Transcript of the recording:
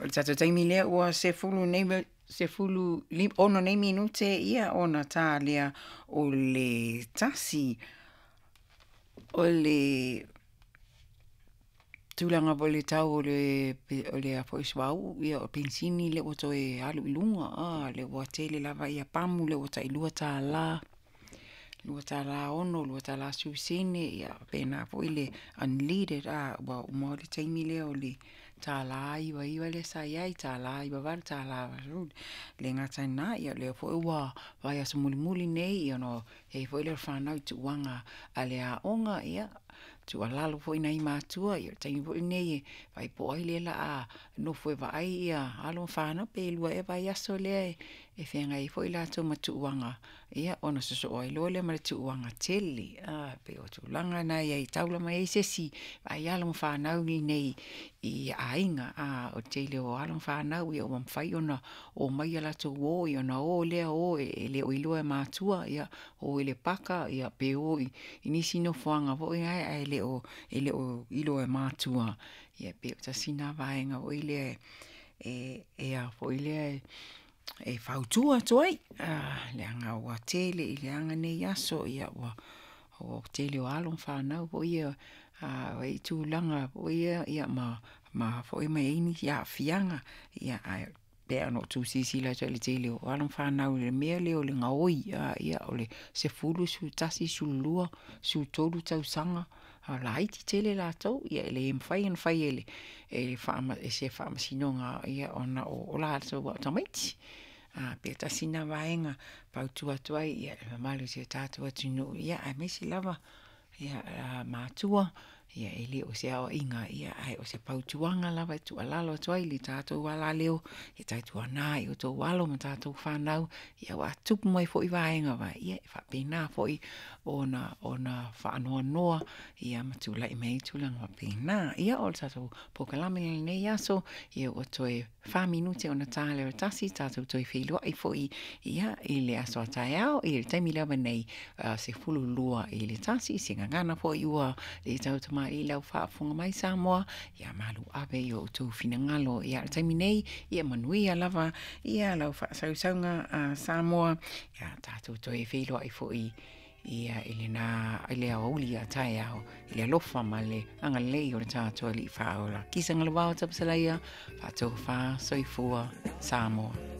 le tatou taimi lea ua 10 nei 16 nei minute ia ona tā lea o le 1. O le tulaga foi o le tau o le o le a foi suauu ia o penisini lea ua toe alu i luga a lea ua tele lava ia pamu lea ua tai $2, $2.60, $2.10 ia faapena foi le unleaded a ua uma le taimi lea o le $1.99 lea sa i ai, $1.98, $1.80. Le gata i lena, ia o lea foi ua vaiaso mulimuli nei ia ona i ai foi lea o le fanau i tuuaga a le aoga, ia tuualalo foi i nai matua, ia o le taimi foi lenei e vaai po o ai lea o le a nofo e vaai ia alo ma fanau pe 2 ea vaiaso lea e feagai ai foi latou ma tuuaga, ia ona sosoo ai loa lea ma le tuuaga tele. E pei o tulaga na e i ai, e taula mai ai se isi vaai alo ma fanau i inei i aiga. O le tele o alo ma fanau ia ua mafai ona omai a latou uo, ia ona o lea o e le o iloa e matua, ia o i le paka pe o i nisi nofoaga foi nae ae le o iloa e matua. Ia pei o tasi lena vaega foi lea e ao foi lea e fautua atu ai, leaga ua tele i leaga nei aso, ia ua tele o alo ma fanau foi ia ua i ai tulaga foi ia ma foi ma i ai nisi aafiaga, ia ae pei lava ona outou silasila atu ai i le tele o alo ma fanau i le mea lea o le gaoi, ia o le 10, 11, 12, 13 tausaga, a laiti tele latou, ia e le mafai ona fai e se faamasinoga ona o latou lava o tamaiti. Pei tasi lena vaega e fautua atu ai i le mamalu o si o tatou atunuu, aemaise lava matua, ia e le o se aoaiga, ae o se fautuaga lava e tuualalo atu ai i le tatou alaleo, ia tautuana i outou alo ma tatou fanau, aua a tupu mai foi vaega ia, e faapena foi ona faanoanoa ma tulai mai ai tulaga faapena. Ia, o le tatou polokalame i lenei aso, ia ua toe 4 minute ona ta lea o le 1, tatou toe feiloai foi i le aso a taeao, i le taimi lava nei 12 i le 1. Se gagana foi ua le tautamalii i lau faafofoga mai Samoa, ia malu ave i o outou finagalo. Ia, o le taimi nei, ia manuia lava ia lau faasausauga a Samoa, ia tatou toe feiloai foi ia i lena i le aoauli a taeao i le alofa ma le agalelei o le tatou Alii Faaola. Kisa galovao Tapusalaia, faatofa soifua Samoa.